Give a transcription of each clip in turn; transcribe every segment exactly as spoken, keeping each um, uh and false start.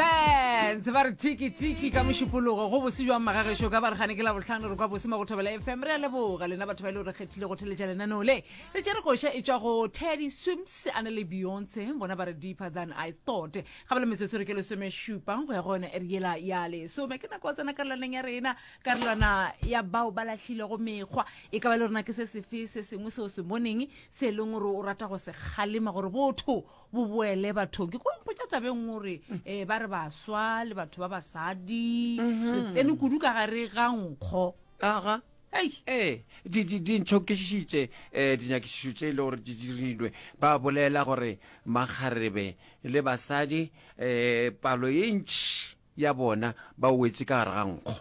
Sense ba re tiki tiki ka mošupologo go bose jwang magagešo ka baregane ke la bohlano re kwa bose mo go Thobela F M. Re a leboga lena batho ba e le gore kgethile go theletša lenaneo le. Re tšere koša e tšwa go Teddy Swims a na le Beyonce, bona ba re "Deeper Than I Thought". Ga bale metsotso re ke lesomešupa go ya go yona ere yela ya lesome, ke nako wa tsena karolwaneng ya rena, karolwana ya bao ba lahlilego mekgwa. E ka ba le rona ke se sefe se sengwe seo se boneng se e leng gore o rata go se kgalema gore botho bo boele bathong? Ke ko mpotša tabeng gore um ba re baswa le batho ba basadi re tsene kudu ka gare ga nkgo. Aga. Ei. Ee, di di di ntšhokišitše um dinyakišišo tše e le gore di dirilwe. Ba bolela gore makgarebe le basadi um palo ye ntši ya bona ba wetse ka gare ga nkgo.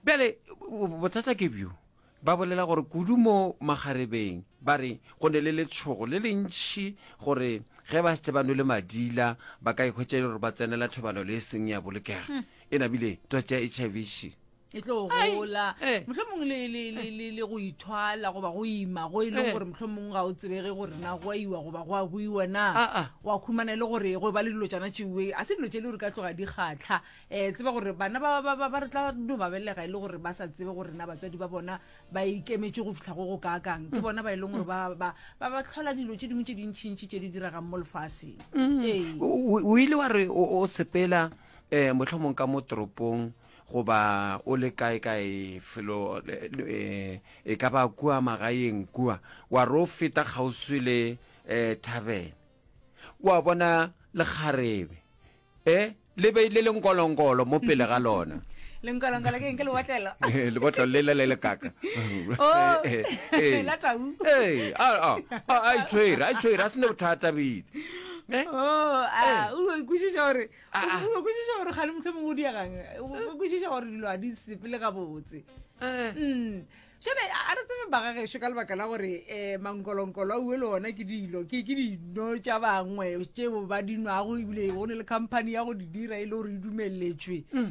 Bjale bo- bothata ke bjo, ba bolela gore kudu mo makgarebeng ba re go ne le letshogo le le ntšhi gore ge ba setse ba nwele madila ba ka ikhwetša e le gore ba tsenela thobano le e seng ya bolokega, e nabile twatši ya H I V še e tlo gola. Eh. Mohlomongwe le, le, le, le, le go ithwala goba go ima go e leng Eh. gore mohlomongwe ga o tsebege gore na go a iwa goba go a buiwa na. Ah, ah. Wa khumana e le gore go ba le dilo tšana tšewe a se dilo tše le gore ka tloga di kgatlha. um tseba gore bana ba ba ba ba re tla no ba belega e le gore ba sa tsebe gore na batswadi ba bona ba ikemetše go fitlha go go kaakang. Ke bona ba e leng gore ba ba ba ba tlhola dilo tše dingwe tše dintšhintšhi tše di diregang mo lefaseng. Ee. o o ile wa re o o sepela um mohlomong ka mo toropong goba o le kae kae felo le- le- eh, e ka ba kua magaeng kua, wa re o feta kgauswi le um thavene, wa bona lekgarebe e le beile lenkolonkolo mo pele ga lona. Lenkolonkolo ke eng? Ke lebotlelo? Lebotlelo le le le lekaka. Oh, Eh, eh. la tau. Ee, a a a a itshwere, a itshwere, a sene bothata bile. Eh? Oh, a o kwešiša gore Ah, ah. o kwešiša gore gane mohlomongwe o diegang, o kwešiša gore dilo a di sepele gabotse. Eh. Mm. Jale a a re tsebe bagagešo ka lebaka la gore um mankolonkolo a ue le ona ke dilo ke ke dino tša bangwe tšeo ba di nwago, ebile go ne le company ya go di dira e le gore e dumeletšwe um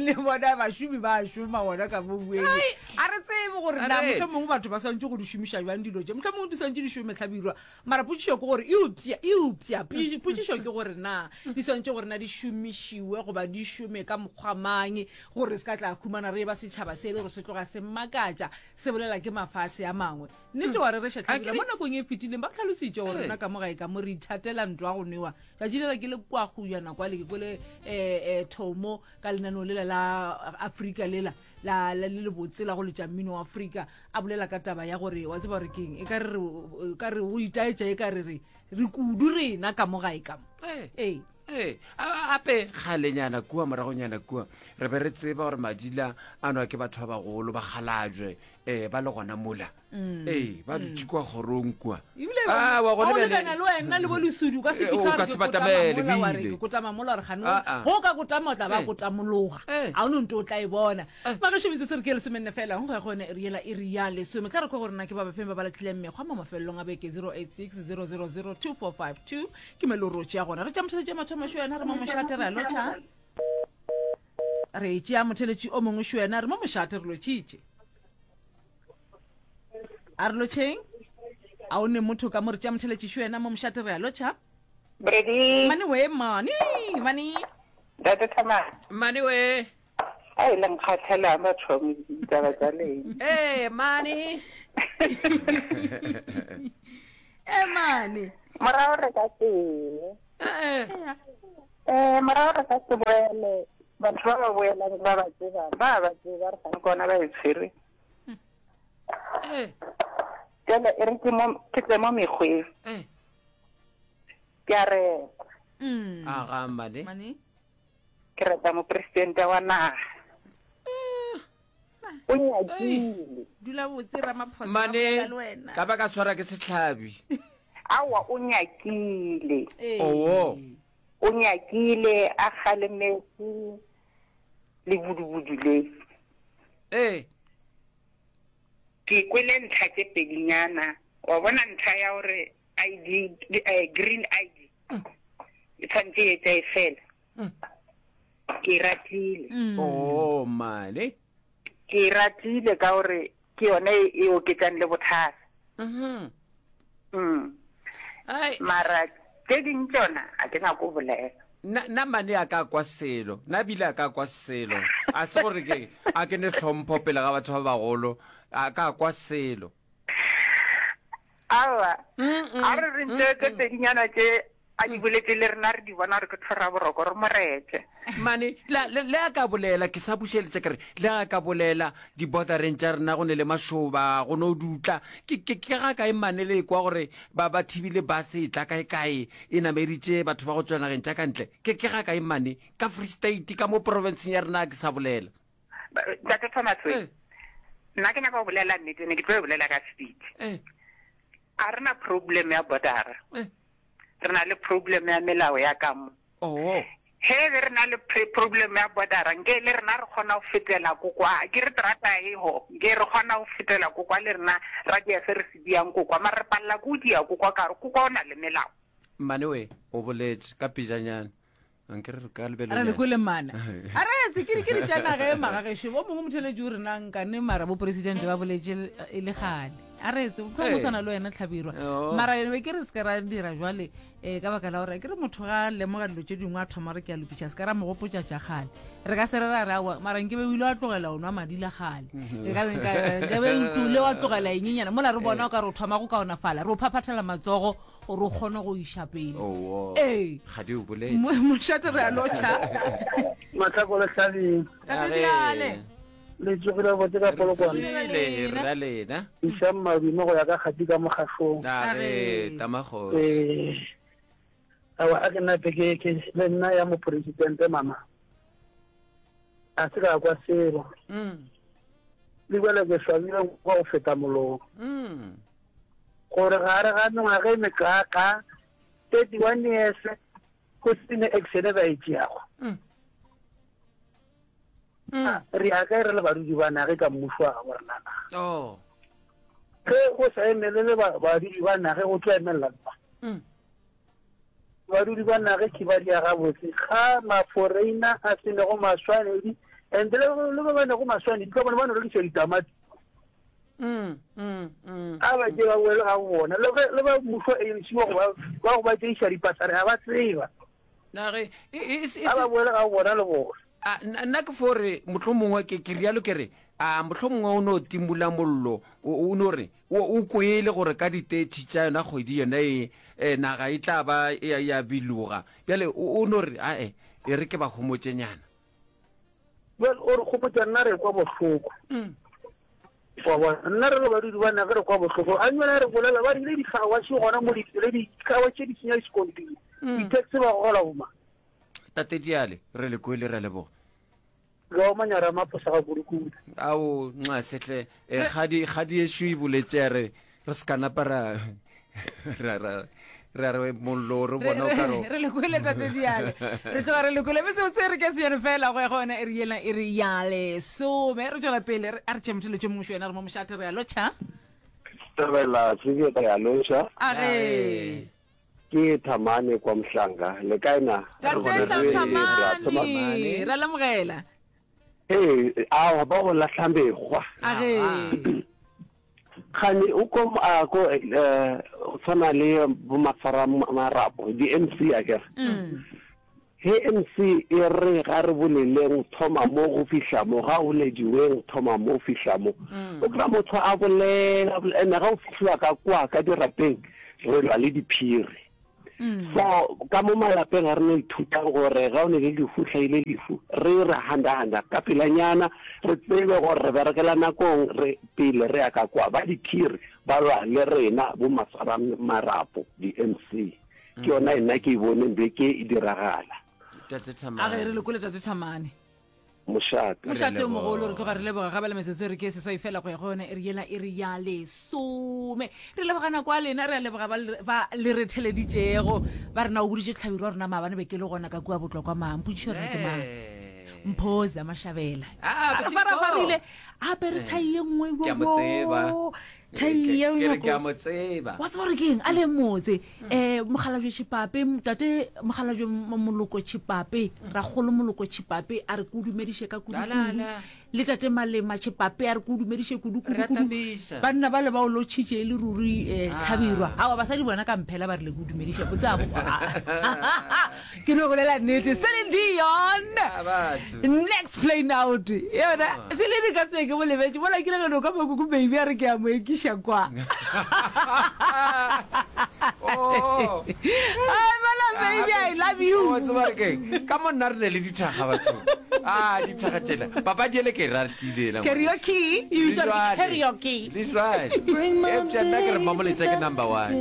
le bona bašomi ba šoma gona ka mo bueng. A re tsebe gore na A re mohlomongwe batho ba swantse go di šomiša jwang dilo tše, mohlomongwe di swantse di šome tlhabirwa. Mara potšišo ke gore eupša eupša potšišo potšišo ke gore na di swantse gore na di šomišiwe goba di šome ka mokgwa mang gore se ka tla khumana re ba setšhaba se e le gore se tloga se makatša, se bolela ke mafase a mangwe. Nnete wa re re šatlhabila mo nakong e fetileng ba tlhalositše gore Ee. rena ka mo gae ka mo re ithatela ntwa go nwewa. Tšatši lela ke le kwa gojana kwale ke kwele um thomo ka lenaneo lela la Afrika lela la la- le le botse la go letša mmino wa Afrika, a bolela ka taba ya gore wa tseba gore keng e ka re re- e ka re go itaetša e ka re re re kudu rena ka mo gae ka mo. Eh. Ee. Ee, a- ape kgalenyana kua moragonyana kua re be re tseba gore madila a nwa ke batho ba bagolo ba kgalajwe um ba le gona mola, ee, ba dutše kua kgorong kua. Ebile Ah, wa wa gona go bjale- lekana le wena le bo lesudu ka se Eh, o fitlha ka re se ke kotama batamele, mola, wa re bile. ke kotama mola gore gane Ah, ah. go ka kotama o tla ba Eh. kotamologa. Eh. A o ne nto o tla e bona magešo metse se re ke lesomenne fela go ya go yone ere yela e re ya lesome. Tla re kwa gore na ke ba bafeng ba ba latlhileng mekgwa mo mafelelong a beke. zero eight six zero zero zero two four five two ke melorotše ya gona. Re tša motheletši ya mathomo šo yena, re mo mošate, re a lotšha. Re tšea motheletši o mongwe šo yena, re mo mošate, re lotšhitše. A re lotšheng, a o ne motho ka mo. Re tšea motheletši šo yena mo mošate, re a lotšha. Brady, Mane we, mane mane. Ntate Thamane. Mane we. A e leng kgatlhela batho ditaba tsa leng. Ee, mane. E mane. Morago re ka sele. Eh, Eh, morago re ka se boele. Batho ba ba boelang ba ba tseba, ba ba tseba re gane kona ba e tshwere. eh, Jale e re ke mo ke tle mo mekgweng. eh. Ke a reta. Mm. Aga mane. Mane. Ke reta mopresidente wa naga. O nyakile. Dula botse Ramaphosa, ba Mane bolela le wena. ka ba ka tshwara ke setlhabi. Awa, o nyakile. Ee. Oo. O nyakile a kgalemetse le budubudu le. Ee. Ke kwele ntlha tše pedinyana. Wa bona ntlha ya gore I D, eh, green I D e tshwanetse e etsa e fela, ke e ratile. Mm. Oo mane. Ke e ratile ka gore ke yone e e oketsang le bothata. Mhm. Mm. Ai. Mara tše ding tsona a ke nyako bolela. Nna nna mane a ka kwa selo, nna bile a ka kwa selo. A se gore ke a ke ne hlompho pele ga batho ba bagolo, a ka kwa selo. Aowa, a re re ntse tse pedinyana tše a di boletše le rena re di bona gore ke tlhora boroko re mo rete. Mane, le, le, le a ka bolela, ke sa bušeletša ke re, le a ka bolela dibordereng tša rena go ne le mašoba, go no dutla. Ke, ke, ke ga kae mane le kwa gore ba, ba thibile bus e tla kae kae, e nameditše batho ba go tšwa nageng tša ka ntle. Ke, ke ga kae mane, ka Free State, ka mo provinceng ya rena ke sa bolela. Ntate Thomas we, Eh. nna ke nyaka go bolela nnete, ne ke tlo e bolela ka speed. Eh. A re na problem ya bordera. Eh. Re na le problem ya melao ya ka mo. Oh. He be re na le pre-, problem ya bordera, nke le rena re kgona go fetela ko kwa, ke re terata e ho, nke re kgona go fetela ko kwa le rena ra dia se re se diang ko kwa, mara re palela ke go dia ko kwa ka gore ko kwa o na le melao. Mmane we, o boletše ka pejanyana. Nke re re ka lebelo Re le nyana. kwele mmane. A re etse, ke di-, ke di tša naga e magagešo. Bo mongwe motheletši o re na nkane mara bo presidente ba boletše e le kgale. A re etse, mohlomongwe Ee. o tshwana le wena Hlabirwa. Oh. Mara be ke re se ka ra dira jwale, eh, ka baka la gore ke re motho ga a lemoga dilo tše dingwe a thoma re ke a lokiša, se ka ra mo gopotša tša kgale. Re ka se re ra re aowa, mara nke be o ile wa tlogela o nwa madi la kgale. Re ka be nka, nke be o tlile wa tlogela eng nyana. Mola re bona o ka re o thoma go kaonafala, re o phaphathela matsogo gore o kgone go iša pele. Oh, oh. Ee. Ga di o boletse. Mo-, mošate re a lotšha. Mahlako le Hlabeng. Tate Diale. Le tsogile botse ka Polokwane. Re tsogile, re ra lena. Išang madume go ya ka kgati ka mogašong. A re, Tamagosi. Eh, aowa, a ke nape ke, ke le nna ya moporesidente mama. A se ka kwa selo. Mm. Le bjale ke swabile kwa go feta molomo. Mm. Gore gare ga mengwaga e mekaka, thirty-one years, go se ne action e ba e tšeago. Mm. Ah, re ya kae re le badudi ba nage ka mmušo wa gabo rena na? Oh. Ge go sa emelele ba-, badudi ba nage, go tlo emelela ba. Mm. Badudi ba nage ke ba dia gabotse. Ga maforeina a se nego maswanedi, and le, le ba ba nego maswanedi, ka bone ba no rekiša ditamati. Mm, mm, mm. A ba ke ba boele ga bona. Le ge, le ba mmušo A N C wa go ba, ba go ba tšeiša dipasare, ga ba tseba. Nage, e, e, e, e, A ba boele ga bona le bona. A, nna, nna ke fo re, mohlomongwe ke, ke rialo ke re, a, mohlomongwe o no timola mollo, o, o no re, o, o kwele gore ka di-thirty tša yona kgwedi yona e, e, naga e tla ba e ya, ya biloga. Bjale, o, o no re, ae, e re ke ba homotšenyana. Well, o re gopotša nna re kwa bohloko. Mm. Wa bona, nna re le badudi ba naga re kwa bohloko. A nnyane re bolela, ba rile di-car wash gona mo di-, le di-car wash tše di senya diskontiri. Mm. Di-taxi ba gola boma. Tate Diale, re le kwele, re a leboga. Ga o manyara maposa ga kudu-kudu. Ao, nxa sehle, eh, kgadi, kgadi ešo e boletše ya re, re se ka napa ra, ra, ra, ra re mollo re bona o ka re o- Re le kwele, Tate Diale. Re tloga re le kwele. Mme seo se re ke se yone fela go ya go yona e re yela, e re ya lesome. Re tšwela pele, re, a re tšee motho tše mongwe yena re mo mošate, re a lotšha. Thabela, Tsebje, re a lotšha. A re. Ke Thamane kwa Mhlanga. Le kae na? Tate Re Sam re, Thamane, Thamane. ra lemogela. Ee, aowa, ba go lahla mekgwa. A re. Kgane o ko, a, ko, eh, o tshwana le bo Mafara Marapo, di M C a kere. Mm. He M C e re ga re boleleng, thoma mo go fihla mo, ga o lediweng, thoma mo go fihla mo. Mm. O kry-a motho a bolela, a bolela, ene ga o fihliwa ka kwa, ka dirapeng, re lwa le diphiri. Mm. So, ka mo malapeng ga re no ithuta gore ga o ne le lefu, hlaile lefu, re re handa-handa ka pelanyana, re tsebe gore re berekela nakong, re pele re ya ka kwa. Ba diphiri ba lwa le rena bo Mafara Marapo, di M C. Ke yona e nna ke e boneng beke e diragala. Tate Thamane. A ge re le kwele, Tate Thamane. Mošate. Mošate o mogolo, re tloga re leboga gape le metsotso e re ke seswai fela go ya go yona e re yela e re ya lesome. Re leboga nako ya lena, re a leboga ba le, ba le re theleditšego. Ba re na o boditše Hlabirwa wa rena maabane be ke le gona ka kua Botlokwa mang. Potšišo rena ke mang? Eh. Mphoza Mashabela. Ah, A re Botlokwa. farafarile, a apere thai ye nngwe Ke a mo tseba. bo. Thai ye Ke re nngwe ke a mo tseba. Wa tseba gore ke eng? A le motse. Eh, Mokgalabje Tšhipape, tate Mokgalabje Moloko Tšhipape, Rakgolo Moloko Tšhipape, a re ke o dumediše ka kudu-kudu. La, la, la. Le tate Malema Tšhepape a re ke o dumediše kudu kudu Re a kudu. tabiša. Banna bale ba o lotšhitše e le ruri eh, Ah. Hlabirwa. Aowa basadi bona ka mphela ba rile ke o dumediše botse a bo Ke no bolela nnete. Celine Dion. Ah, batho. Next plane out. Yona Celine ka tsebe ke mo lebetše mola ke le no ka makuku baby a re ke a mo ekiša kwa. Oh. Ai mola baby I love you. Oh, tseba re keng? Ka mo nna re ne le dithaga batho. Ah, dithaga tsela. Papadi ele ke e ratile ela. Karaoke, e bitšwa gore ke karaoke. Le jwale. Eupša nna ke re Mmamoletša ke number one.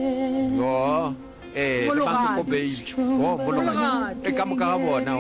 Oh, eh, le Mologadi. Mankoko Baby. Oh, Mologadi. E ka moka ga bona.